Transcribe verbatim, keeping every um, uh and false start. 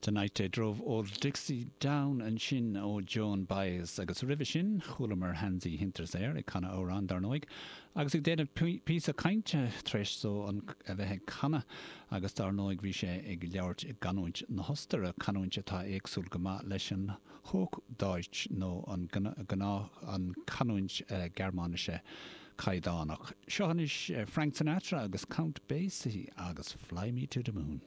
The Night They Drove Old Dixie Down ansin ó Joan Baez agus roimhe sin chualamar Hansi Hinterseer ag canadh amhrán dar ndóigh, agus ag déanamh píosa cainte tar éis dó an a bheith ag canadh agus dar ndóigh bhí sé ag labhairt i gcanúint na hOstaire canúint atá éagsúil go maith leis an Hochdeutsch nó an gnáth an canúint Gearmáinise caighdeánach. Seo anois Frank Sinatra agus Count Basie agus Fly Me to the Moon.